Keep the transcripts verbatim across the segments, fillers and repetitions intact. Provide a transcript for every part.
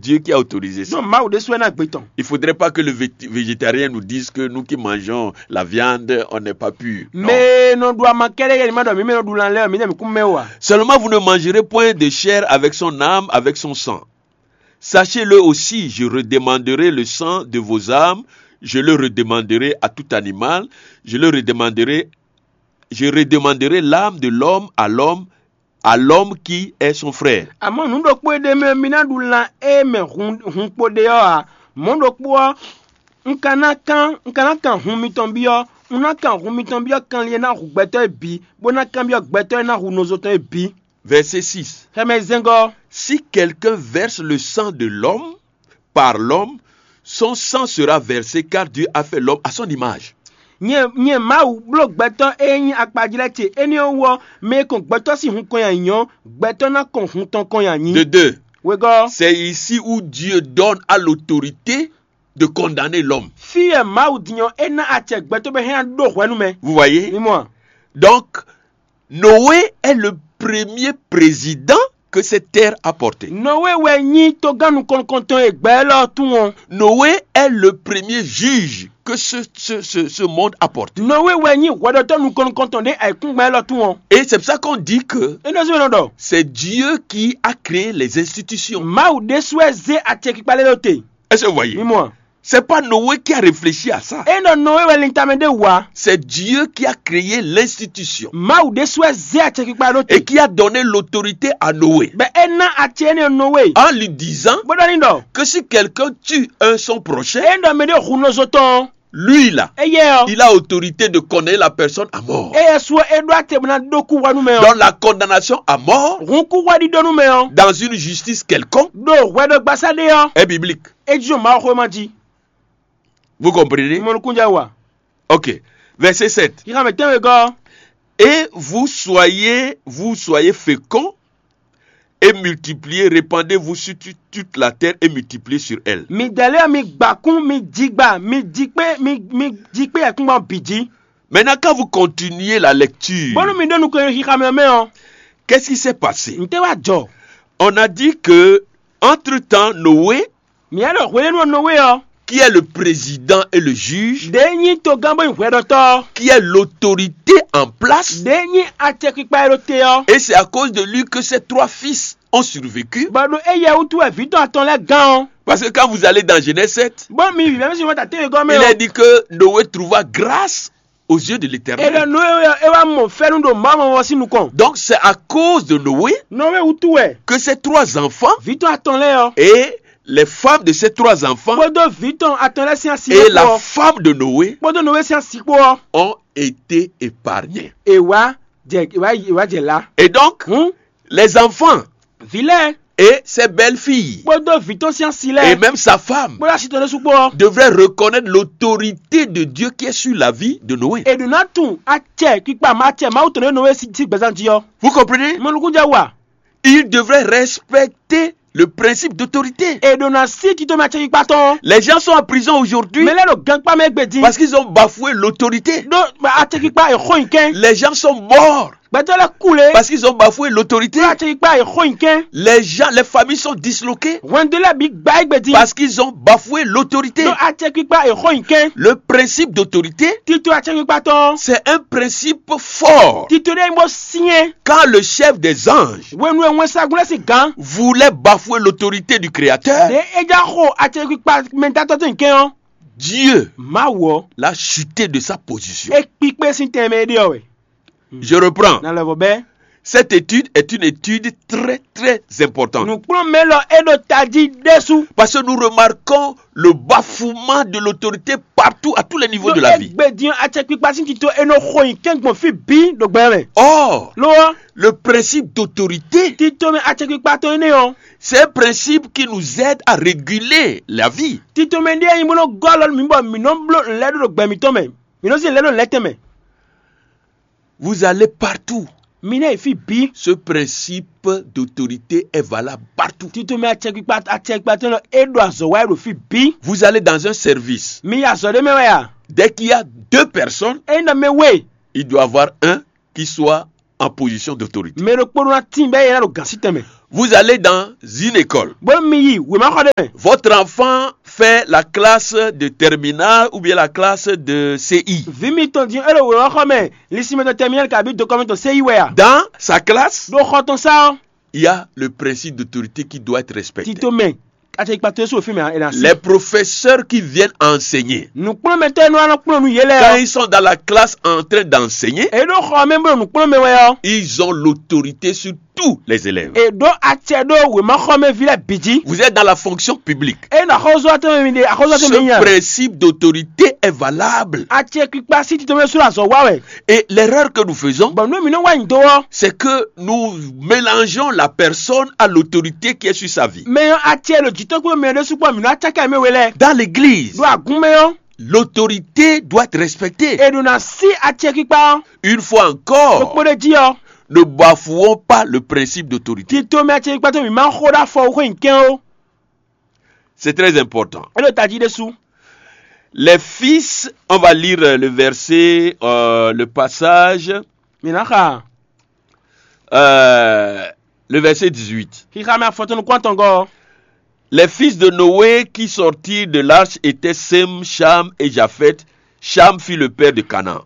Dieu qui a autorisé ça. Donc Mawu ɖésú wɛ ná gbe tɔn. Il faudrait pas que le vét- végétarien nous dise que nous qui mangeons la viande, on n'est pas pur. Non. Mɛ nɔ ɖu ama kɛɖɛ yɛ ni ma ɖɔ mi mɛ nɔ ɖu lan lɛ mi dɛ mi kún mɛ wa. Seulement vous ne mangerez point de chair avec son âme, avec son sang. Sachez-le aussi, je redemanderai le sang de vos âmes, je le redemanderai à tout animal, je le redemanderai, je redemanderai l'âme de l'homme à l'homme, à l'homme qui est son frère. Àmọ́ nǔ ɖokpó e ɖe mɛ mi ná ɖu lan e mɛ hun hun kpo ɖe ɔ́ ǎ. Mɔ̌ ɖokpó ɔ́, un ka ná kán un ka ná kan hun mitɔn byɔ́ un ná kan hun mitɔn byɔ́ kanlin e ná hu gbɛtɔ́ e bǐ bó ná kanbyɔ́ gbɛtɔ́ e ná hu nɔzo tɔn e bǐ. Verset six. Xɛmɛ zɛngɔ. Si quelqu'un verse le sang de l'homme, par l'homme, son sang sera versé, car Dieu a fait l'homme à son image. Nyɛ nyɛ Mawu bló gbɛtɔ́ e nyí akpajlɛ́ ce énɛ́ ɔ́ wú ɔ́, mɛ e kɔn gbɛtɔ́ sín hun kɔn nyi anyǐ ɔ́, gbɛtɔ́ ná kɔn hun tɔn kɔn nyi anyǐ. De deux. Wegɔ́. C'est ici où Dieu donne à l'autorité de condamner l'homme. Fí e Mawu din ɔ́, é ná acɛ gbɛtɔ́ bɔ é hɛn ná ɖó hwɛ nú mɛ. Vous voyez? Mi mɔ a? Donc, Noé est le premier président que cette terre a porté. Nɔwe wɛ nyí togán nukɔn nukɔntɔn e gbɛ élɔ́ tún ɔ́. Noé est le premier juge que ce, ce, ce, ce monde a porté. Nɔwe wɛ nyí hwɛɖɔtɔ́ nukɔn nukɔntɔn ɖé ayǐkúngban élɔ́ tún ɔ́. Et c'est pour ça qu'on dit que Énɛ́ ɔ́ zɔ́n nɔ ɖɔ c'est Dieu qui a créé les institutions. Mawu ɖésú wɛ zé acɛkpikpa lɛ́ɛ ɖó te. Est-ce que vous voyez? Mi mɔ a? C'est pas Noé qui a réfléchi à ça. É nɔ Nɔwe wɛ lintamɛ ɖé wǔ a? C'est Dieu qui a créé l'institution. Mawu ɖésú wɛ zé acɛkpikpa ɖó Et te. Qui a donné l'autorité à Noé. Bɛ é ná acɛ énɛ́ Nɔwe. En lui disant Bó ɖɔ ní ɖɔ. Que si quelqu'un tue un son prochain, É ɖɔ mɛ ɖé hu nɔzo tɔn. Lui-là, Éyɛ́ ɔ́. Il a autorité de condamner la personne à mort. Éyɛ́ sú ɔ́ é ɖó acɛ bó ná ɖó kú hwɛ nú mɛ ɔ́. Donc la condamnation à mort Hun kú hwɛ ɖíɖó nú mɛ ɔ́. Dans une justice quelconque, Ɖo hwɛɖɔgbasá ɖé ɔ́. Est biblique. É jí ɖo Mawu xwé ma jí. Vous comprenez? Mɔ nukúnjɛ wa. Ok. Verset sept. Yíxa mɛ tɛnwe gɔ́. Et vous soyez, vous soyez féconds et multipliez, répandez-vous sur tu- toute la terre et multipliez sur elle. Mi dɛlɛ mi gbakún mi jigba mi jikpé mi mi jikpé yɛkúngbɔn bǐ jí. Maintenant, quand vous continuez la lecture, Bónú mi ɖó nukɔn xixa mɛ mɛ ɔ́. Qu'est-ce qui s'est passé? N tɛ wá jɔ. On a dit que, entre-temps, Noé, Mǐ ɖɔ hwelɛ́nu ɔ́ Nɔwe ɔ́. Qui est le président et le juge, Ɖě nyí togán bó nyí hwɛɖɔtɔ́. Qui est l'autorité en place, Ɖě nyí acɛkpikpa e ɖo te ɔ́. Et c'est à cause de lui que ces trois fils ont survécu. Bɔ ɖo éyɛ wútu wɛ vǐ tɔn atɔn lɛ́ɛ gán ɔ́. Parce que quand vous allez dans Genèse sept, Bó mi vǐ mɛ mi si wɔ ta tɛ́nwe gɔ́ mɛ Il est ɔ́. Dit que Noé trouva grâce aux yeux de É l'Éternel. ɖɔ Nɔwe ɔ́ é wá mɔ fɛ́nú ɖo Mawu mɔmɔ sín nukɔn. Donc c'est à cause de Noé Nɔwe wútu wɛ. Que ces trois enfants Vǐ tɔn atɔn lɛ́ɛ ɔ́. Et les femmes de ces trois enfants Kpódó vǐ tɔn atɔn lɛ́ɛ sín asi et lɛ́ɛ la kpó ɔ́. Femme de Noé Kpódó Nɔwe sín asi kpó ɔ́. Ont été épargnés. È wá jɛ è wá è wá jɛ lá. Et donc, Hǔn les enfants vǐ lɛ́ɛ et ses belles-filles kpódó vǐ tɔn sín asi et lɛ́ɛ Même sa femme kpódó asi tɔn lɛ́ɛ sú kpó ɔ́. Devraient reconnaître l'autorité de Dieu qui est sur la vie de Noé. È ɖǒ ná tunwun acɛ kpikpa ma acɛ Mawu tɔn ɖé Nɔwe sí sí gbɛzán jí ɔ́. Vous comprenez? Mɔnukúnjɛ wa. Ils devraient respecter le principe d'autorité. È ɖǒ ná sí tito mɛ acɛ kpikpa tɔn. Les gens sont en prison aujourd'hui Mɛ lɛ́ɛ ɖo gankpá mɛ gbedin. Parce qu'ils ont bafoué l'autorité. Ɖó acɛ kpikpa è xó nyi kɛn. Les gens sont morts Gbɛtɔ́ lɛ́ɛ kú le. Parce qu'ils ont bafoué l'autorité. Ɖó acɛ kpikpa è xó nyi kɛn. Les gens, les familles sont disloquées Hwɛndo lɛ́ɛ bǐ gbá é gbedin. Parce qu'ils ont bafoué l'autorité. Ɖó acɛ kpikpa è xó nyi kɛn. Le principe d'autorité, Tito acɛ kpikpa tɔn. C'est un principe fort. Tito ɖé nyí bó syɛn. Quand le chef des anges Hwenu e wɛnsagun lɛ́ɛ sín gǎn. Voulait bafouer l'autorité du Créateur, Ɖě é já xo acɛ kpikpa mɛdatɔ́ tɔn nyi kɛn ɔ́. Dieu Mawu ɔ́. L'a chuté de sa position. É kpikpé sín tɛnmɛ é ɖe ɔ́ wɛ. Je reprends. Na lɛvɔ bɛ́. Cette étude est une étude très, très importante. Nǔkplɔ́nmɛ lɔ é ɖo tají ɖésú. Parce que nous remarquons le bafouement de l'autorité partout, à tous les niveaux de la vie. Égbé din acɛkpikpa sín tito é nɔ xo nyi kɛngbɔn fí bǐ ɖo gbɛ mɛ. Or, Lo ɔ́, le principe d'autorité, tito mɛ acɛkpikpa tɔn énɛ́ ɔ́. C'est un principe qui nous aide à réguler la vie. Tito mɛ ɖé nyí bó nɔ gɔ́ alɔ mǐ bɔ mǐ nɔ bló nǔlɛ́ɖó ɖo gbɛ mǐtɔn mɛ. Mǐ nɔ zín nǔlɛ́ɖó lɛ́tɛn mɛ. Vous allez partout. Mi ná yi fí bǐ. Ce principe d'autorité est valable partout. Tito mɛ acɛkpikpa acɛkpikpa tɔn é ɖo azɔ̌ wa ɖo fí bǐ. Vous allez dans un service. Mi yi azɔ̌ ɖé mɛ wɛ a? Dès qu'il y a deux personnes, Ényí ɖɔ mɛ we. Il doit avoir un qui soit en position d'autorité. Mɛ ɖokpó ɖó ná tín bɛ́ yɛ ná ɖo gǎn sí tɛnmɛ. Vous allez dans une école. Bó mi yi wěmaxɔ ɖé mɛ. Votre enfant fait la classe de terminale ou bien la classe de C I. Vǐ mitɔn din é ɖo wěmaxɔ mɛ, lisimɛ tɔn tɛmiyɛli kabi dokɔmɛ tɔn séyi wɛ a? Dans sa classe, Ɖo xɔ tɔn sá ɔ́, Il y a le principe d'autorité qui doit être respecté. Tito mɛ, atɛ ikpa to sú òfin mɛ ɛ na sí. Les professeurs qui viennent enseigner, Nǔkplɔ́nmɛtɔ́ e nɔ wá nɔ kplɔ́n nú yě lɛ́ɛ quand ɔ́, ils sont dans la classe en train d'enseigner, é ɖó xɔ mɛ bó ɖo nǔkplɔ́n mɛ wɛ ɔ́, Ils ont l'autorité sur tous les élèves. É ɖó acɛ ɖó wěmaxɔmɛví lɛ́ɛ bǐ jí. Vous êtes dans la fonction publique. É nɔ axɔ́zɔ́tɔ́ mɛ mi ɖe axɔ́zɔ́tɔ́ mɛ Ce nya. Principe d'autorité est valable. Acɛ kpikpa sí tito mɛ sú azɔ̌ wa wɛ. Et l'erreur que nous faisons, Bɔn nú mi nɔ wá nyi do ɔ́, C'est que nous mélangeons la personne à l'autorité qui est sur sa vie. Mɛ ɔ́ acɛ ɖo jǐtɔn kpó mɛ ɖé sukpɔ mi nɔ acákɛ mɛ we lɛ. Dans l'église, Ɖo agun mɛ ɔ́, L'autorité doit être respectée. É ɖo ná sí acɛ kpikpa ɔ́. Une fois encore, Ɖokpó ɖé jí ɔ́, Ne bafouons pas le principe d'autorité. Tito mɛ acɛ kpikpa tɔn mi má xó ɖó afɔ xó nyi kɛn ó. C'est très important. É ɖo tají ɖésú. Les fils, on va lire le verset, euh, le passage, Mi ná xa euh, le verset dix-huit. Xixa mɛ afɔtɔn nukún atɔngɔ́. Les fils de Noé qui sortirent de l'arche étaient Sem, Cham et Japheth. Cham fut le père de Canaan.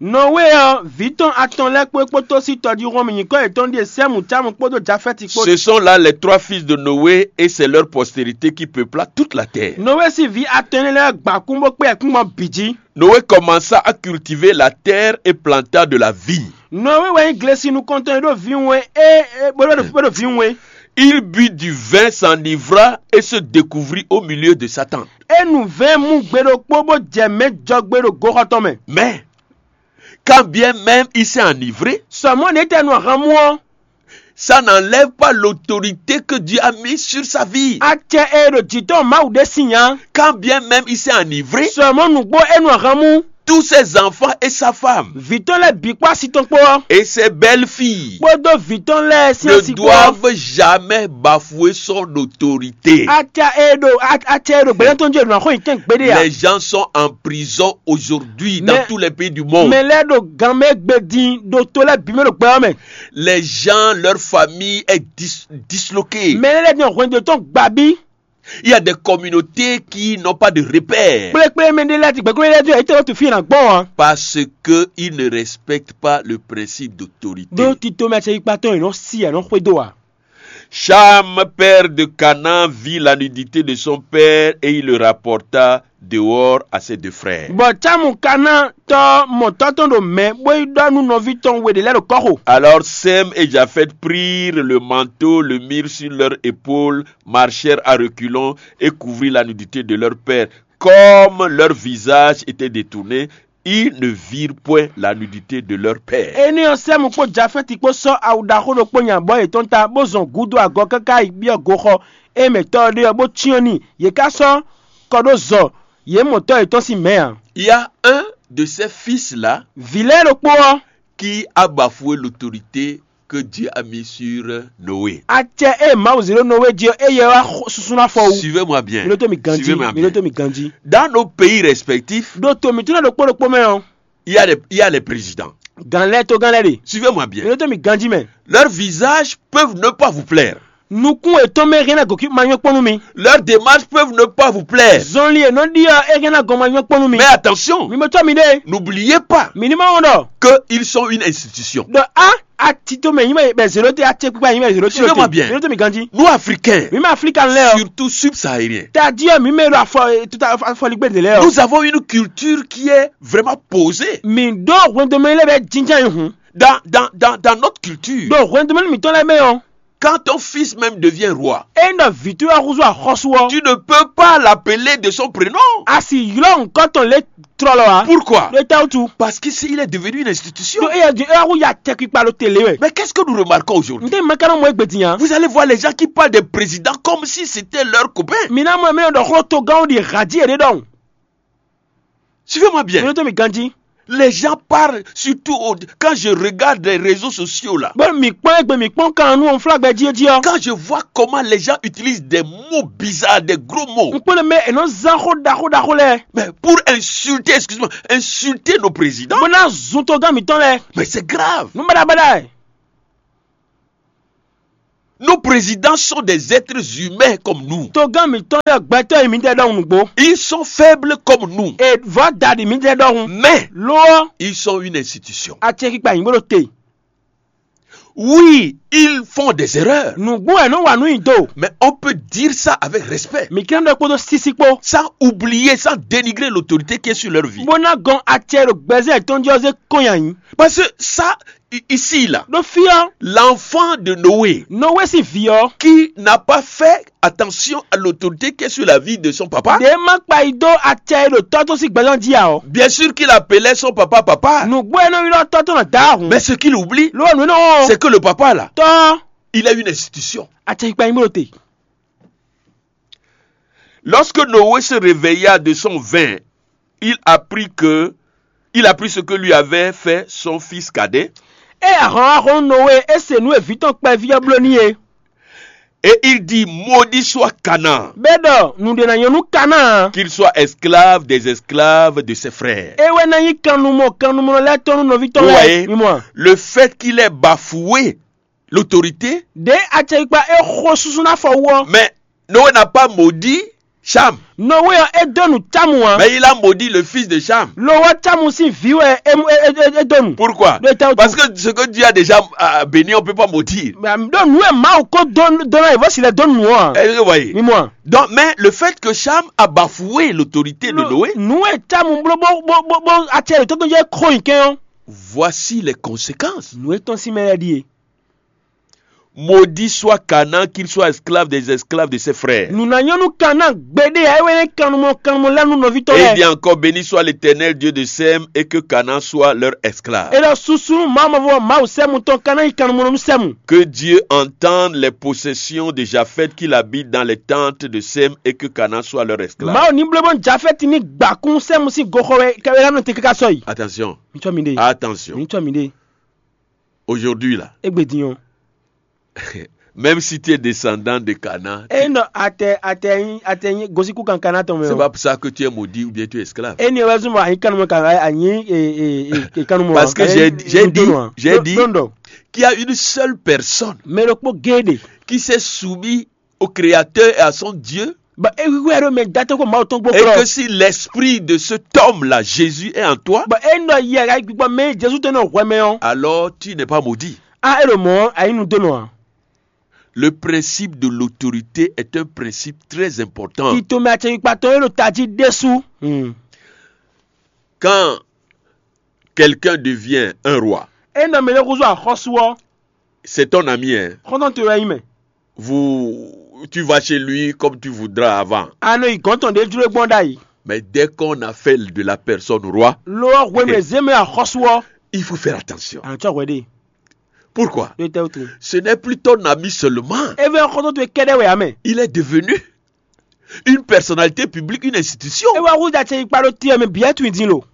Nɔwée ɔ́, vǐ tɔn atɔn lɛ́ɛ kpó é kpódó sí tɔjíhún ɔ́ mɛ nyǐkɔ yětɔn ɖíe Sɛ́mu, Cámu kpódó Jafɛ́ti kpó. Ce sont là les trois fils de Noé et c'est leur postérité qui peupla toute la terre. Nɔwée sín vǐ atɔn énɛ́ lɛ́ɛ gba kún bó kpé ayǐkúngban bǐ jí. Noé commença à cultiver la terre et planta de la vigne. Nɔwée wɛ nyí glesi nukɔntɔn e ɖo vǐwun e é é bó ɖo bó ɖo vǐwun e. Il but du vin, s'enivra et se découvrit au milieu de sa tente. É nu vɛ̌ɛn mú gbe ɖokpó bó jɛ mɛ̌ jɔgbe ɖo goxɔ tɔn mɛ. Mais, quand bien même il s'est enivré, Sɔmɔ́ ɖě tɛ nu ahan mú ɔ́, ça n'enlève pas l'autorité que Dieu a mise sur sa vie. Acɛ e ɖo jǐ tɔn Mawu ɖe sín nya. Quand bien même il s'est enivré, Sɔmɔ́ nǔgbó é nu ahan mú. Tous ses enfants et sa femme, Vǐ tɔn lɛ́ɛ bǐ kpó asi tɔn kpó ɔ́, et ses belles-filles kpódó vǐ tɔn lɛ́ɛ sín ne asi kpó ɔ́, doivent jamais bafouer son autorité. Acɛ e ɖo a- acɛ e ɖo gbɛ̌nɛ́ tɔn jí e ɖo ná xo nyi kɛ́n gbeɖé ǎ. Les gens sont en prison aujourd'hui dans Mais- tous les pays du monde. Mɛ lɛ́ɛ ɖo gan mɛ gbe din ɖo to lɛ́ɛ bǐ mɛ ɖo gbɛ ɔ́ mɛ. Les gens, leur famille est dis- disloquée. Mɛ lɛ́ɛ din hwɛndo tɔn gbabí. Il y a des communautés qui n'ont pas de repère. Kplékplé mɛ ɖé lɛ́ɛ ti gbɛ̌ kplékplé lɛ́ɛ ti yě tɛ tu fí ná gbɔn ǎ. Parce que ils ne respectent pas le principe d'autorité. Ɖó tito mɛ acɛ yíkpatɔn yě nɔ sí yě nɔ xwedó ǎ. Cham, père de Canaan, vit la nudité de son père et il le rapporta dehors à ses deux frères. Bɔ Cámu ka ná tɔ́ mɔ̌tɔ́ tɔn ɖo mɛ̌ bó yi ɖɔ nú nɔví tɔn we ɖě lɛ́ɛ ɖo kɔ́xo. Alors Sem et Japheth prirent le manteau, le mirent sur leur épaule, marchèrent à reculons et couvrirent la nudité de leur père. Comme leur visage était détourné, ils ne virent point la nudité de leur père. Énɛ́ ɔ́, Sɛ́mu kpó Jafɛ́ti kpó sɔ́ awu ɖaxó ɖokpó nyi abɔ̌ yětɔn ta, bó zɔn gǔdo agɔ káká yi byɔ́ goxɔ e mɛ tɔ́ ɔ́ ɖe ɔ́, bó cyɔ́n n'i. Yě ká sɔ́ kɔ ɖó zɔ yě mɔ tɔ́ yětɔn sín mɛ̌ ǎ. Il y a un de ces fils-là Vǐ lɛ́ɛ ɖokpó ɔ́, qui a bafoué l'autorité que Dieu a mis sur Noé. Acɛ e Mawu zě ɖó Nɔwée jí ɔ́, éyɛ́ wá xo- susu ná fɔ wú. Suivez-moi bien. Mi ɖótó mi ganjí. Suivez-moi Mi bien. Ɖótó mi ganjí. Dans nos pays respectifs, Ɖo to mǐtɔn lɛ́ɛ ɖokpó ɖokpó mɛ ɔ́, il y a les, il y a les présidents. Gǎn lɛ́ɛ togán lɛ́ɛ ɖe. Suivez-moi Mi bien. Ɖótó mi ganjí mɛ. Leurs visages peuvent ne pas vous plaire. Nukún yětɔn mɛ hɛn ná gǒkí ma nyɔ́ kpɔ́n nú mi. Leurs démarches peuvent ne pas vous plaire. Zɔnlin e nɔ ɖi ɔ́, é hɛn ná gɔn ma nyɔ́ kpɔ́n nú mi. Mais attention, Mi mɔ tɔ́ mi ɖe. N'oubliez pas Mǐ ní ma wɔn ɖɔ. Que ils sont une institution. Ɖɔ a a tito mɛ nyí mɛ bɛ zéro te a ce kpikpa nyí mɛ zéro te. Suivez-moi bien. Mi ɖo to mi ganji. Nous Africains, Mi mɛ Aflika lɛ ɔ. Surtout subsahariens, Ta di ɔ mi mɛ ɖo afɔ tuta afɔligbe de lɛ ɔ. Nous avons une culture qui est vraiment posée. Mi ɖo hwendome lɛ bɛ jinjan yi hun. Dans, dans, dans, dans notre culture, Ɖo hwendome mi tɔn lɛ mɛ ɔ. Quand ton fils même devient roi, E nɔ vitu ɔ́ huzu axɔsu ɔ. Tu ne peux pas l'appeler de son prénom. A si ylɔ nkɔ tɔn le trɔlɔ a. Pourquoi? Ɖo ta wutu. Parce que s'il est devenu une institution. Ɖo eya di eya hu ya tɛ kpikpa ɖo tele wɛ. Mais qu'est-ce que nous remarquons aujourd'hui? N tɛ mɛ kanɔ mɔ egbe din ya. Vous allez voir les gens qui parlent des présidents comme si c'était leur copain. Mi na mɔ mi nɔ ɖɔ xlɔ to gánwo ɖi hadi yɛ ɖe ɖɔn. Suivez-moi bien. Mi nɔ to mi ganji. Les gens parlent surtout au- quand je regarde les réseaux sociaux là. Bɔ mi kpɔn egbe mi kpɔn kan nu ɔn flagbɛ jí jí ɔ. Quand je vois comment les gens utilisent des mots bizarres, des gros mots. N kpɔn mɛ enɔ zan xo ɖaxo ɖaxo lɛ. Mais pour insulter, excuse-moi, insulter nos présidents. Bó ná zun to gán mi tɔn lɛ. Mais c'est grave. Nu bada bada. Nos présidents sont des êtres humains comme nous. Togán mǐtɔn lɛ́ɛ gbɛtɔ́ e mǐdɛɛ ɖɔhun nǔgbó. Ils sont faibles comme nous. E vɔ̌ daɖi mǐdɛɛ ɖɔhun. Mais lo ɔ́, ils sont une institution. Acɛkpikpa nyǐ bó ɖo te. Oui, ils font des erreurs. Nǔgbó wɛ nɔ wa nǔ nyi do. Mais on peut dire ça avec respect. Mǐ kɛn ɖɔ kpódó sísí kpó. Sans oublier, sans dénigrer l'autorité qui est sur leur vie. Bó ná gɔn acɛ ɖo gbɛzɛ́ tɔn jí ɔ́ zé kɔn nyi ayǐ. Parce que ça, ici là, ɖó fí ɔ́, l'enfant de Noé, Nowé sín vǐ ɔ́, Qui n'a pas fait attention à l'autorité qui est sur la vie de son papa. Ɖě má kpa yi dó acɛ e ɖo tɔ́ tɔn sín gbɛzán jí ǎ ɔ́. Bien sûr qu'il appelait son papa papa. Nǔgbó e nɔ ylɔ́ tɔ́ tɔn nɔ dǎ ahun. Mais ce qu'il oublie, Ló wɛ nǔ énɛ́ ɔ́ c'est que le papa là, Tɔ́ ɔ́, il est une institution. Acɛkpikpa nyí bó ɖo te. Lorsque Noé se réveilla de son vin, il apprit que il apprit ce que lui avait fait son fils cadet. Ée ahɔ̌nxaxɔ́nú Nowée é se nǔ e vǐ tɔn kpɛví ɔ́ bló n'i é, Et il dit, maudit soit Canaan, bɛ́ ɖɔ nǔɖé ná nyɔ́ nú Kanáan, Qu'il soit esclave des esclaves de ses frères. É wɛ ná nyí kannumɔ kannumɔ lɛ́ɛ tɔn nú nɔví tɔn Vous lɛ́ɛ. Voyez, mi mɔ a? Le fait qu'il ait bafoué l'autorité, Ɖě acɛkpikpa é xo súsú ná fɔ wú ɔ́, Mais Noé n'a pas maudit Cham. Nowée ɔ́ é dó nǔ Cámu ǎ. Mais il a maudit le fils de Cham. Lo ɔ́ Cámu sín vǐ wɛ é é é é dó nǔ. Pourquoi? Ɖó é tɛ́ wútu? Parce que ce que Dieu a déjà euh, béni, on ne peut pas maudire. Ɖó nǔ e Mawu ko dó dó ná yi vɔ́ si lɛ dó nǔ ɔ́ ǎ. Est-ce que vous voyez? Mi mɔ a? Donc, mais le fait que Cham a bafoué l'autorité de Noé, Nǔ e Cámu bló bó bó bó bó acɛ yětɔn tɔn jɛ xo nyi kɛn ɔ́. Voici les conséquences. Nǔ e tɔn sín mɛ lɛ́ɛ ɖíe. Maudit soit Canaan, qu'il soit esclave des esclaves de ses frères. Nǔ ná nyɔ́ nú Kanáan gbeɖé ǎ, é wɛ nyí kannumɔ kannumɔ lɛ́ɛ nú nɔví tɔn Et il dit lɛ́ɛ. Encore, béni soit l'Éternel Dieu de Sem, et que Canaan soit leur esclave. É ɖɔ susu nú Mawu mavɔ Mawu Sɛ́mu tɔn Kanáan nyí kannumɔ nú Sɛ́mu. Que Dieu entende les possessions de Japheth, qu'il habite dans les tentes de Sem, et que Canaan soit leur esclave. Mawu ní bló bónú Jafɛ́ti ní gbakún Sɛ́mu sín goxɔ wɛ kɛ wɛ ná nɔ te káká sɔ́ yi. Attention, Mi tsɔ́ mi ɖe. Attention. Mi tsɔ́ mi ɖe. Aujourd'hui là, Égbé din ɔ́. Même si tu es descendant de Canaan, É nɔ atɛ atɛ nyi atɛ nyi gosíkú kankan ná tɔn mɛ c'est o. Pas pour ça que tu es maudit ou bien tu es esclave. É ni wɛ zɔn bɔ anyi kanu mɔ kan anyi e e e kanu mɔ. Parce que j'ai j'ai dit, j'ai dit Don don. Qu'il y a une seule personne Mɛ ɖokpó géɖe. Qui s'est soumis au Créateur et à son Dieu. Bɔ é wíwú ɛɖó mɛ datɔ́ kó Mawu tɔn gbó Et que si l'esprit de cet homme-là, Jésus, est en toi, Bɔ é nɔ yɛ ka gbígbɔ mɛ Jezu tɔn nɔ hwɛ mɛ ɔ́. Alors tu n'es pas maudit. A é ɖo mɔ̌ ɔ́, a nyí nudónɔ ǎ. Le principe de l'autorité est un principe très important. Tito mɛ acɛkpikpatɔn é ɖo tají ɖésú. Quand quelqu'un devient un roi, É nɔ mɛ ɖé húzú axɔ́sú ɔ́, c'est ton ami, hein. Xɔ́ntɔn towe wɛ nyí mɛ. Vous, tu vas chez lui comme tu voudras avant. A nɔ yi gɔ̌n tɔn ɖě jló gbɔn ɖ'ayǐ. Mais dès qu'on a fait de la personne roi, Lo ɔ́ hwenu e zě mɛ axɔ́sú ɔ́, Il faut faire attention. A nɔ tsɔ hwɛ ɖe. Pourquoi? Ɖo tɛ́ wútu? Ce n'est plus ton ami seulement. É vɛ́ xɔ́ntɔn towe kɛ́ɖɛ́ wɛ ǎ mɛ. Il est devenu une personnalité publique, une institution. É wá húzú acɛkpikpa ɖó te ɔ́ mɛ bǐ wɛ tunwun din lo.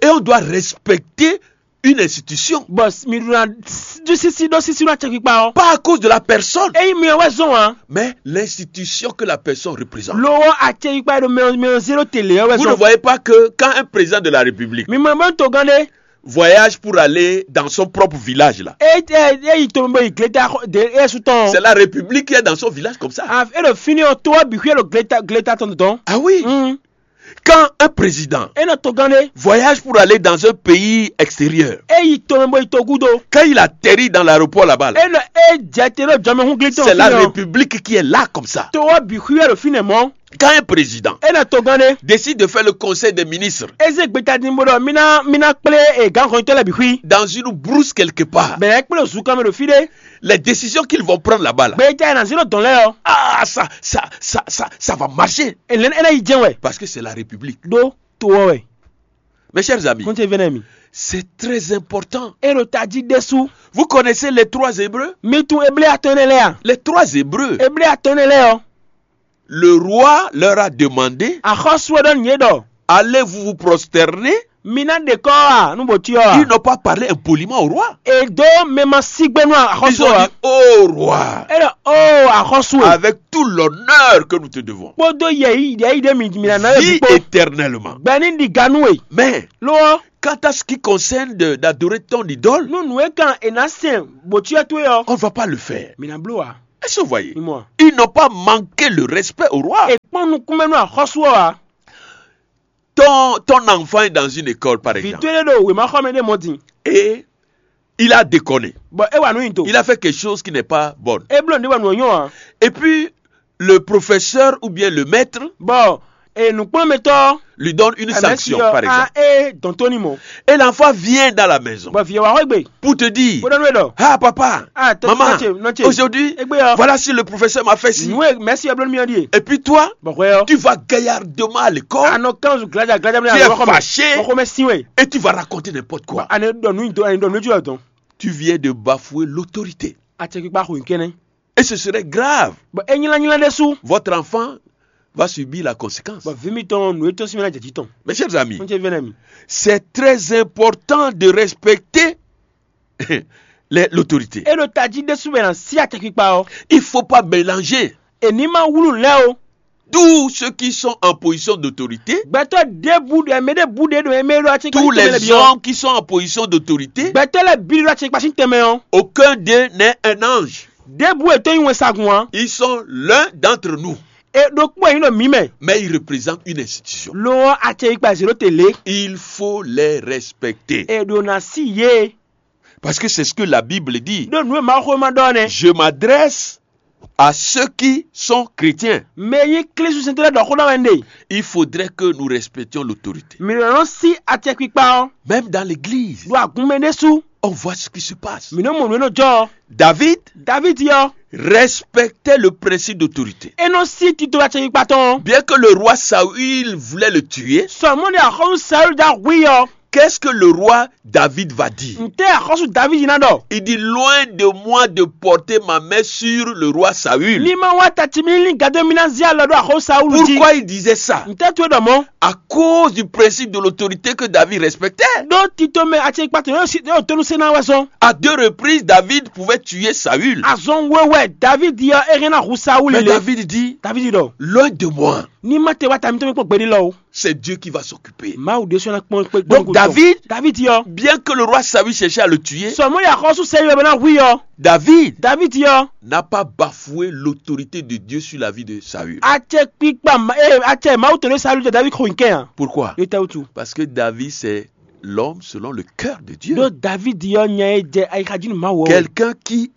Et on doit respecter une institution. Bɔ mi ɖu na ɖu sisi ɖó sisi ɖó acɛkpikpa ɔ́. Pas à cause de la personne, Ényí mi ɔ́ wɛ zɔn ǎ. Mais l'institution que la personne représente. Lo ɔ́ acɛkpikpa e ɖo mɛ mɛ ɔ́ zé ɖó te lě ɔ́ wɛ Vous ne zɔn. Voyez pas que quand un président de la République Mi mɔ bɔ togán ɖé. Voyage pour aller dans son propre village là, É é é yi to bɔ yi gleta xɔ- de é su tɔn. C'est la République qui est dans son village comme ça. A é ɖo fínɛ́ ɔ́ tó ɔ́ bǐ xwíɛ ɖo gleta gleta tɔn dɔn. Ah oui. Mm. Quand un président É nɔ togán ɖé. Voyage pour aller dans un pays extérieur, É yi to mɛ bɔ yi to gúdo. Quand il atterrit dans l'aéroport là-bas là, É nɔ é jɛ te ɖo jɔmɛhún glitɔn. C'est la République qui est là comme ça. To ɔ́ bǐ xwíɛ ɖo fínɛ́ mɔ̌. Quand un président É nɔ togán ɖé. Décide de faire le conseil des ministres, É zé gbeta din bó ɖɔ mí ná mí ná kplé e gǎn hɔnyitɔ́ lɛ́ɛ bǐ xwí. Dans une brousse quelque part, Bɛ̌ é kplé zunkan mɛ ɖo fí ɖé. Les décisions qu'ils vont prendre là-bas là, Gbeta e nǎ zé ɖo dɔn lɛ́ɛ ɔ́. Ah, ça, ça, ça, ça, ça va marcher. È lɛ́ é ná yi jɛ́n wɛ. Parce que c'est la République. Ɖó to ɔ́ wɛ. Mes chers amis, Kɔn ce vɛ́nɛ mi. C'est très important. É ɖo tají ɖésú. Vous connaissez les trois Hébreux? Mi tunwun Eblé atɔn énɛ́ lɛ́ɛ a? Les trois Hébreux. Eblé atɔn énɛ́ lɛ́ɛ ɔ́. Le roi leur a demandé, Axɔ́sú ɔ́ ɖɔ nǔ yě ɖɔ. Allez-vous vous prosterner? Mi ná ɖe kɔ́ ɔ́ a nú bǒ cyɔ a? Ils n'ont pas parlé impoliment au roi. È dó mɛ ma sí gbé nú axɔ́sú Ils ont ɔ́. Dit, oh roi, É ɖɔ ó axɔ́sú e. Avec tout l'honneur que nous te devons, Kpódó yɛ̌yi yɛ̌yi ɖé mi mi ná ná yɛ vis bǐ kpó. Éternellement. Gbɛ ní ɖi ga nú we. Mais Lo ɔ́. Quant à ce qui concerne de- d'adorer ton idole, Nú nǔ e kan è nǎ sɛn bǒcyɔ towe ɔ́, on ne va pas le faire. mǐ ná bló ǎ. Est-ce que vous voyez? Mi mɔ a? Ils n'ont pas manqué le respect au roi. È kpɔ́n nukúnmɛ nú axɔ́sú ɔ́ ǎ. Ton, ton enfant est dans une école, par Vǐ exemple, towe ɖé ɖo wěmaxɔmɛ ɖé mɔ din, et il a déconné. Bɔ é wa nǔ nyi do. Il a fait quelque chose qui n'est pas bon. É bló nǔɖé bɔ nǔ ɔ́ nyɔ́ ǎ. Et puis, le professeur ou bien le maître Bɔ e nǔkplɔ́nmɛtɔ́ lui donne une sanction, par exemple. É dɔn tó ní mɔ. Et l'enfant vient dans la maison Bɔ vǐ ɔ́ wá xwé gbe. Pour te dire, Bó ɖɔ nú é ɖɔ. Ah, papa, Ah, tɔ- maman, tɔ ce, nɔ ce. Aujourd'hui, Égbé ɔ́. Voilà si le professeur m'a fait ci. Nǔ e mɛ̌si ɔ́ bló nú mì ɔ́ ɖíe. Et puis toi, Bɔ hwɛ ɔ́. Tu vas gaillardement à l'école. Anɔ kan zu glaja glaja mi Tu es alɔ xɔmɛ. Fâché. Bɔ xɔmɛ sin wɛ. Et tu vas raconter n'importe quoi. Ani ɖɔ nǔ nyi do ani ɖɔ nǔ nyi do dɔn. Tu viens de bafouer l'autorité. Acɛkpikpa xo nyi kɛnɛ. Et ce serait grave. Bɔ é nyla nyla ɖésú. Votre enfant va subir la conséquence. Bɔ vǐ mitɔn nǔ e tɔ́n sín mɛ ná jɛ jǐ tɔn. Mes chers amis, N ce vɛnɛ mi. C'est très important de respecter les- l'autorité. É ɖo tají ɖésú bɛ na sí acɛkpikpa ɔ́. Il ne faut pas mélanger È ní ma wlú lɛ́ o. Tous ceux qui sont en position d'autorité, Gbɛtɔ́ ɖěbǔ ɖo ɛmɛ ɖěbǔ ɖě ɖo ɛmɛ ɖo acɛkpikpa tous sín tɛnmɛ les lɛ́ bǐ ɔ́. Hommes qui sont en position d'autorité, Gbɛtɔ́ lɛ́ bǐ ɖo acɛkpikpa sín tɛnmɛ ɔ́. Aucun d'eux n'est un ange. Ɖěbǔ è tó nyí wɛnsagun ǎ. Ils sont l'un d'entre nous, E ɖokpó ɛ nyí ɖo mǐ mɛ. Mais ils représentent une institution. Lo ɔ́ acɛkpikpa zě ɖó te lě. Il faut les respecter. E ɖo na sí yě. Parce que c'est ce que la Bible dit. Ɖó nǔ e Mawuxówéma ɖɔ nɛ́. Je m'adresse à ceux qui sont chrétiens. Mɛ e nyí Klísu sɛntɛ́ lɛ́ɛ ɖɔ xó ná wɛ un ɖe. Il faudrait que nous respections l'autorité. Mǐ nɔ nɔ sí acɛkpikpa ɔ́. Même dans l'église, Ɖo agun mɛ ɖésú. On voit ce qui se passe. Mǐ nɔ mɔ nǔ e nɔ jɔ ɔ́. David Davídi ɔ́. Respectait le principe d'autorité. É nɔ sí tito acɛkpikpa tɔn ɔ́. Bien que le roi Saül voulait le tuer, Sɔmɔ́ni axɔ́sú Saúl ɖo ahu i ɔ́. Qu'est-ce que le roi David va dire? Ntɛ́ axɔ́sú Davídi ná ɖɔ? Il dit, loin de moi de porter ma main sur le roi Saül. Ní ma wá ta ci mì ní gado mì ná zé alɔ ɖó axɔ́sú Saúl jí. Pourquoi il disait ça? Ntɛ́ towe ɖɔ mɔ̌? À cause du principe de l'autorité que David respectait. Ɖó tito mɛ acɛkpikpa tɔn yóò tónú sɛ́ ná wɛ zɔn. À deux reprises, David pouvait tuer Saül. Azɔn wewɛ Davídi ɔ́ é hɛn ná hu Saúl Mais lé. David dit, Davídi ɖɔ. Loin de moi. Ní ma te wá ta mitɔn mi kpɔ́n gbɛɖí lɔ o. C'est Dieu qui va s'occuper. Mawu ɖésú ná kpɔn kpé Donc David, Davídi ɔ́. Bien que le roi Saül cherchait à le tuer, Sɔmɔ́ni axɔ́sú Saúl bɛ ná hu i ɔ́. David Davídi ɔ́. N'a pas bafoué l'autorité de Dieu sur la vie de Saül. Acɛkpikpa ma- ee acɛ Mawu tɔn ɖé Saúl jɛ Davídi xo nyi kɛn a. Pourquoi? Yóò tɛ wutu. Parce que David, c'est l'homme selon le cœur de Dieu. Ɖó Davídi ɔ́ nya e jɛ ayixa jí nú Mawu ɔ́. Quelqu'un qui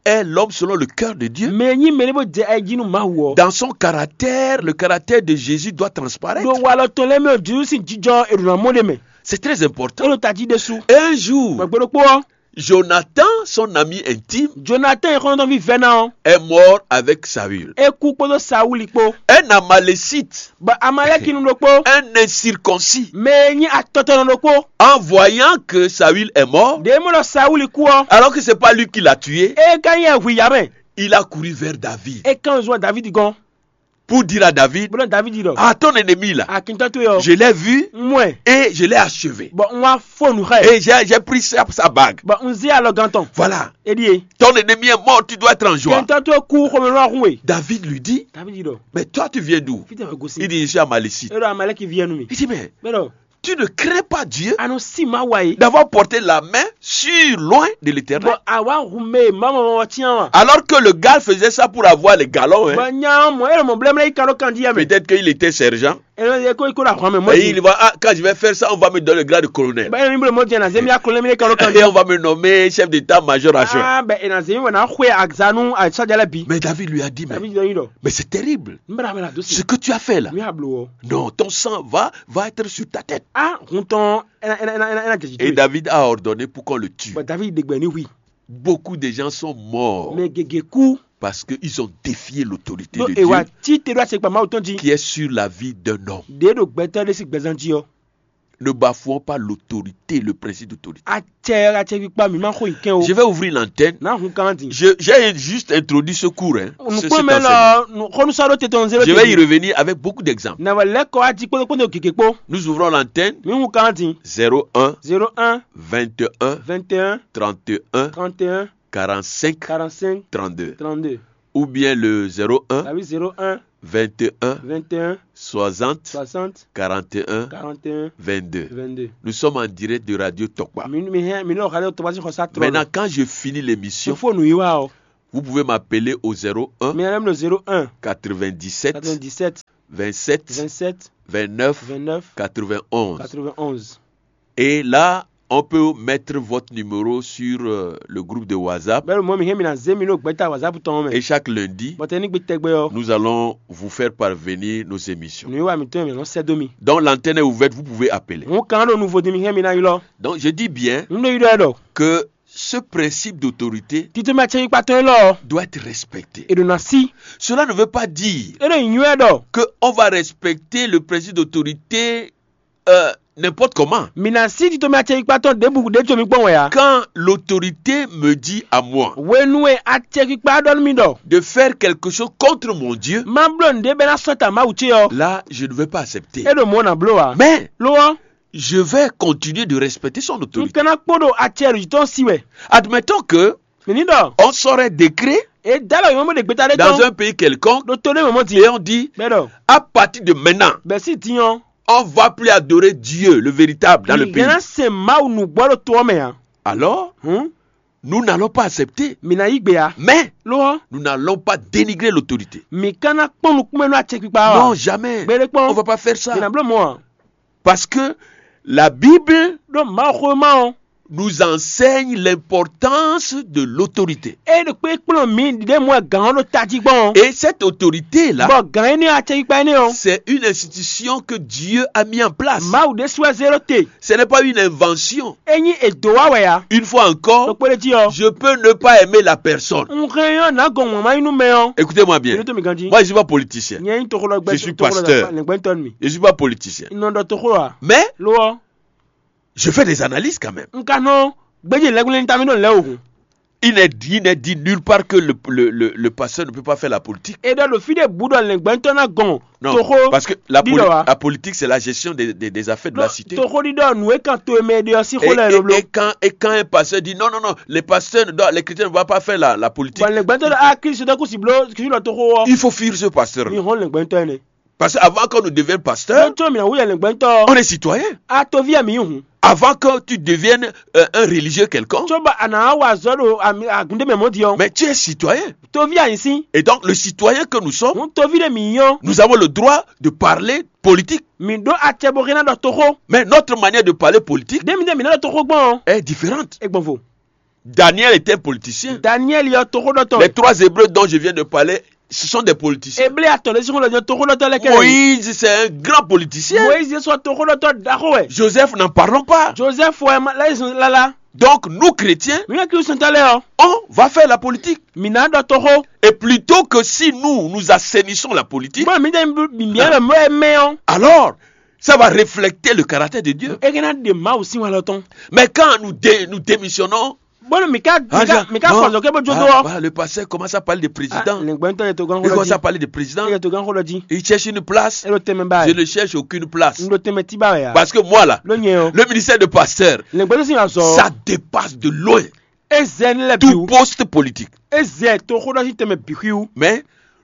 est l'homme selon le cœur de Dieu. Mɛ e nyí mɛ ɖé bó jɛ ayi jí nú Mawu ɔ́. Dans son caractère, le caractère de Jésus doit transparaître. Ɖo walɔ tɔn lɛ́ɛ mɛ ɔ́ Jezu sín jijɔ è ɖo ná mɔ ɖé mɛ. C'est très É important. ɖo tají ɖésú. Un jour, Gbɛgbɛ ɖokpó ɔ́. Jonathan, son ami intime, Jonathan e xɔnɔtɔn vívɛ́ ná ɔ́. Est mort avec Saül. É kú kpódó Saúli kpó. Un Amalécite, Bɔ Amalɛkinu ɖokpó. Un incirconcis, Mɛ e nyí atɔtɔnɔ ɖokpó. En voyant que Saül est mort, Ɖě mɔ ɖɔ Saúli kú ɔ́. Alors que c'est pas lui qui l'a tué, É ka nyí ɛ hu yǎ mɛ. Il a couru vers David. É kán zɔn Davídi gɔ́n. Pour dire à David, Bó ɖɔ Davídi ɖɔ. Ah, ton ennemi là, Akíntɔ́ towe ɔ́. Je l'ai vu N mɔ ɛ. Et je l'ai achevé. Bɔ n wá fó nǔ xá ɛ. Et j'ai j'ai pris sa, sa bague. Bɔ n zé alɔgán tɔn. Voilà. É ɖíe. Ton ennemi est mort, tu dois être en joie. Akíntɔ́ towe kú xomɛ ló wá hún we. David lui dit, Davídi ɖɔ. Mais toi, tu viens d'où? Fítɛ̀ wɛ gosi. Il dit, Je suis Amalécite. É ɖɔ Amalɛki ví ɛnu mi. Il dit, Mais bɛ ɖɔ. Tu ne crains pas Dieu A nɔ sí Mawu a yé. D'avoir porté la main sur loin de l'Éternel. Bɔ àwa hun mɛ mama mama tiɲɛ wa. Alors que le gars faisait ça pour avoir les galons, hein. Bɔ nya mɔ e lɔ mɔ blɛmɛ yi kan ɖo kan di yɛ mɛ. Peut-être qu'il était sergent. E lɔ yɛ ko ko la xɔn mɛ mɔ Et ti. Il va, ah, quand je vais faire ça, on va me donner le grade de colonel. Bɛ e mi bolo mɔ jɛ na zemi akɔlɛ mi kan ɖo kan di. Et on va me nommer chef d'état-major à chef. Ah bɛ e na zemi wɛ na xwe agzanu asadjalɛ bi. Mais David lui a dit, mais, David yɔ yi dɔ. Mais c'est terrible. N bɛ na mɛ na do si. Ce que tu as fait là, Mi ablo wɔ. Non, ton sang va, va être sur ta tête. Ah hun tɔn ɛna ɛna ɛna ɛna jɛji Et to. David a ordonné pour qu'on le tue. Bɔ David de gbɛ ni hui. Beaucoup de gens sont morts Mɛ gege ku. Parce qu'ils ont défié l'autorité Do de ewa Dieu ti te do ase kpa Mawu tɔn ji. Qui est sur la vie d'un homme. De do gbɛtɔ de si gbɛzan ji ɔ. Ne bafouons pas l'autorité, le principe d'autorité. Acɛ acɛ kpikpa mi ma xo yi kɛn o. Je vais ouvrir l'antenne. Na hun kan di. Je- J'ai juste introduit ce cours. Hein, ce- Nukpɔn cet mɛ enseignement. lɔ xɔnusa ɖo te tɔn zero. Je vais y revenir avec beaucoup d'exemples. Na wɛ lɛ kɔ adi kpɔtɔkpɔtɔ gege kpɔ. Nous ouvrons l'antenne. Mi hun kan di. Zéro un, Zero un, vingt et un, vingt et un, trente et un, trente et un, quarante-cinq, quarante-cinq, trente-deux. trente-deux. Ou bien le zéro un, Tabi zero un, vingt et un, vingt et un, soixante, soixante, quarante et un, quarante et un, vingt-deux. Vingt-deux. Nous sommes en direct de Radio Tokpa. Mi mi hɛn mi lɔ xalɛ tɔgba si xɔsa trɔ. Maintenant, quand je finis l'émission, Fo nu yi wa o. Vous pouvez m'appeler au zéro un, Mi yɛn lɛ mi ɖo zéro un, quatre-vingt-dix-sept, quatre-vingt-dix-sept, vingt-sept, vingt-sept, vingt-neuf, vingt-neuf, quatre-vingt-onze. Quatre-vingt-onze. Et là, on peut mettre votre numéro sur euh, le groupe de WhatsApp. Bɛlɛ mɔ mi hɛn mi na zé mi ɖo gbɛta WhatsApp tɔn mɛ. Et chaque lundi, Bɔtɛ ní gbe tɛgbɛ ɔ. Nous allons vous faire parvenir nos émissions. Nu yi wa mi tɔn mi nɔ sɛ do mi. Donc l'antenne est ouverte, vous pouvez appeler. Hun kan ɖo nuvo di mi hɛn mi na yi lɔ. Donc je dis bien N ɖo yi ɖɔ ɛ ɖɔ. Que ce principe d'autorité Tito mi atsɛ yi kpatɔ yi lɔ. Doit être respecté. E ɖo na si. Cela ne veut pas dire E ɖo yi nyuɛ ɖɔ. Qu'on va respecter le principe d'autorité euh, n'importe comment. Mi na si tito mi atsɛ yi kpatɔ ɖebu ɖe tso mi gbɔn wɛ ya. Quand l'autorité me dit à moi Wenu e atsɛ kpikpa ɖɔ nú mi ɖɔ. De faire quelque chose contre mon Dieu, Ma bló nu ɖe bɛ na sɔ ta Mawu ce ɔ. Là, je ne vais pas accepter. E ɖo mɔ na bló wa. Mais Lo ɔ. Je vais continuer de respecter son N autorité. Kana kpo ɖo atsɛ ɖo tɔn si wɛ. Admettons que Mi ní ɖɔ. On sort un décret E da lɔ yɔn mo ɖe gbeta ɖe dans tɔn. Un pays quelconque Ɖo to ɖe mɔ mɔ di. Et on dit, Bɛ ɖɔ. À partir de maintenant, Bɛ si ti yɔn. On va plus adorer Dieu, le véritable, dans le pays. Yɛn se Mawu nu gbɔ ɖo to ɔ mɛ ya. Alors, Hun. Nous n'allons pas accepter. Mi na yi gbe ya. Mais Lo ɔ. Nous n'allons pas dénigrer l'autorité. Mi kana kpɔn nukun mɛ nɔ atsɛ kpikpa wa. Non, jamais. Gbɛɖe kpɔn. On va pas faire ça. Mi na bló mɔ wa. Parce que la Bible Ɖo Mawu xo ma ɔ. Nous enseigne l'importance de l'autorité. E ɖo kpe kplɔn mi ɖe mɔ gǎn ɔ ɖo tají gbɔn. Et cette autorité-là, bɔ gǎn énɛ́ atsɛ kpikpa énɛ́ ɔ. C'est une institution que Dieu a mis en place. Mawu ɖe sue zéro te. Ce n'est pas une invention. E nyi edo wa wɛ ya. Une fois encore, ɖo kpɛɖe jí ɔ. Je peux ne pas aimer la personne. N hɛn yɔ na gɔn ŋun ma yi nú mɛ ɔ. Écoutez-moi bien. Yɛrɛ to mi ganji. Moi, je suis pas politicien. Nyɛ yi toxo lɔ gbɛ. Je suis pasteur. Lɛngbɛntɔ mi. Je suis pas politicien. N nɔ ɖɔ toxo wa. Mais lo ɔ. Je fais des analyses quand même. N ka nɔ gbɛdze lɛgbɛlɛ ta mi ɖo lɛ o. Il n'est dit, il n'est dit nulle part que le, le, le, le pasteur ne peut pas faire la politique. E ɖɔ ɖo fi ɖe bu ɖɔ lɛngbɛntɔ na gɔn. Non, toxo parce que la, poli la politique, c'est la gestion des, des, des affaires de la cité. Toxo ɖi ɖɔ nu e kan to e mɛ ɖe ɔ si xo lɛ loblo. Et quand, et quand un pasteur dit non, non, non, les pasteurs, ne doivent- les chrétiens ne doivent pas faire la, la politique. Bɔn lɛngbɛntɔ ɖɔ a Kristu ɖɔ kusi blo kusi ɖɔ toxo wɔ. Il faut fuir ce pasteur. Mi hɔn lɛngbɛntɔ ɛnɛ. Parce qu'avant que nous devions pasteurs, on est citoyen. A toví mi hun. Avant que tu deviennes euh, un religieux quelconque, tso ba a na wa zɔ ɖo agunde mɛ mɔ di ɔ. Mais tu es citoyen. Toví a yin si. Et donc le citoyen que nous sommes, hun toví ɖe mi yɔn. Nous avons le droit de parler politique. Mi ɖo acɛ bo hɛn na ɖɔ toxo. Mais notre manière de parler politique, ɖe mi ɖe mi na ɖɔ toxo gbɔn. Est différente. E gbɔn vo. Daniel était un politicien. Daniel yɔ toxo ɖɔ tɔn. Les trois Hébreux dont je viens de parler, ce sont des politiciens. Eble atɔ ɖe si xɔ lɔ jɔ toxo ɖɔ tɔ lɛ kɛ. Moïse, c'est un grand politicien. Moïse sɔ toxo ɖɔ tɔ ɖaxo wɛ. Joseph, n'en parlons pas. Joseph wɛ ma lɛ zun lala. Donc nous chrétiens, mi yɛ kiri sɔn ta lɛ ɔ. On va faire la politique. Mi na ɖɔ toxo. Et plutôt que si nous nous assainissons la politique, bɔn mi de mi mi yɛ mɛ mɛ ɔ. Alors ça va refléter le caractère de Dieu. E kɛ na de Mawu sin wa lɔ tɔn. Mais quand nous dé- nous démissionnons, bɔn mi ka mi ka mi ka fɔ zɔ kɛ bɔ jo do ɔ. Voilà, le pasteur commence à parler de président. Lɛngbɛntɔ yɛ to gan xɔ lɔ ji. Il commence à parler de président. Yɛ to gan xɔ lɔ ji. Il cherche une place. E lo tɛmɛ ba. Je ne cherche aucune place. N lo tɛmɛ ti ba ya. Parce que moi là, lo nyɛ o. Le ministère de pasteur, lɛngbɛntɔ si ma zɔ. Ça dépasse de loin. E zɛ ne lɛ bi. Tout poste politique. E zɛ to xɔ lɔ si tɛmɛ bi xi wu. Mais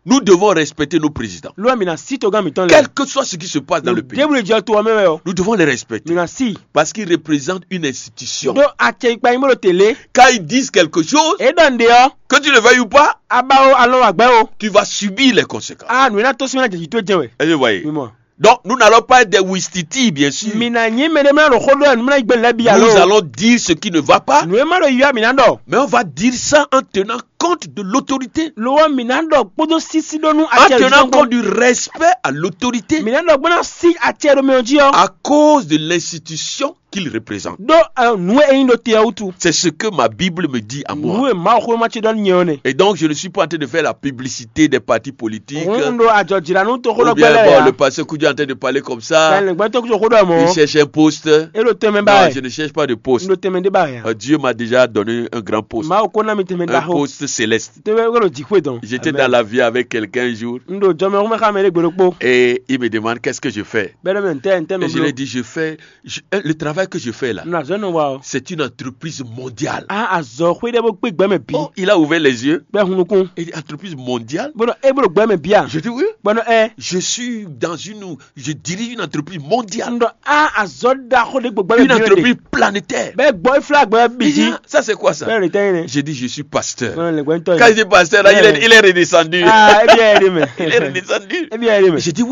nous devons respecter nos présidents. Lo mi na si to gan mi tɔn lɛ. Quel que soit ce qui se passe dans le pays, débrouille jɛ to ɔ mɛ wɛ o. Nous devons les respecter. Mi na si. Parce qu'ils représentent une institution. Do acɛ ikpa yi mo lo télé. Quand ils disent quelque chose, e dɔn de ɔ. Que tu le veuilles ou pas, a ba o alɔ wa gbɛ o. Tu vas subir les conséquences. A nu na to si na jɛ ji to jɛ wɛ. Est-ce que vous voyez? Mi mɔ. Donc nous n'allons pas être des wistiti, bien sûr. Mi na nyi mɛ de mi na ɖo xo ɖɔ nu mi na yi gbɛ lɛ bi alo. Nous allons dire ce qui ne va pas. Nu e ma ɖo yɔ mi na ɖɔ. Mais on va dire ça en tenant compte de l'autorité. Lo wɔ mi na ɖɔ kpódó sisi ɖo nu. En tenant compte du respect à l'autorité. Mi na ɖɔ gbɔna si acɛ ɖo mɛ ɔ ji ɔ. À cause de l'institution qu'il représente. Ɖo nu e nyi ɖo te ɔ wutu. C'est ce que ma Bible me dit à moi. Nu e Mawu xwé ma ce ɖɔ nyɛ ɔ nɛ. Et donc je ne suis pas en train de faire la publicité des partis politiques. N ɖo adzɔdzra nu to xo lɔ gbɛ lɛ ya. Le pasteur Kudu est en train de parler comme ça. Lɛngbɛntɔ kudu xo ɖɔ mɔ. Il cherche un poste. E ɖo tɛmɛ ba. Non, je ne cherche pas de poste. N ɖo tɛmɛ de ba ya. Dieu m'a déjà donné un grand poste. Mawu ko na mi tɛmɛ da xo. Un poste céleste. Tɛmɛ ko ɖo jixwe dɔn. J'étais dans l'avion avec quelqu'un un jour. N ɖo jɔmɛ xɔmɛ xa mɛ ɖe gbe ɖokpo. Et il me demande qu'est-ce que je fais. Bɛlɛ mɛ ntɛ ntɛ mɛ. Et je lui ai dit je fais je, le travail. Pas que je fais là. Na zɔ nɔ wa o. C'est une entreprise mondiale. A azɔ xwé ɖe bó gbé gbɛmɛ bí. Oh, il a ouvert les yeux. Bɛ hunukun. Et entreprise mondiale. Bɔnɔ e bolo gbɛmɛ bia. Je dis oui. Bɔnɔ ɛ. Je suis dans une, je dirige une entreprise mondiale. Ndɔ a azɔ da xɔ de gbɔ gbɛmɛ Une bí. Entreprise planétaire. Bɛ gbɔ ifla gbɛ Il dit, biji. Ah, ça c'est quoi ça? Bɛ le tɛyin nɛ. J'ai dit, je suis pasteur. Bɔnɔ le gbɛntɔ Quand yi. il dit pasteur, là, il est, il est redescendu. Ah, ebi ɛ de mɛ. Il est redescendu. Ebi ɛ de mɛ. J'ai dit, oui.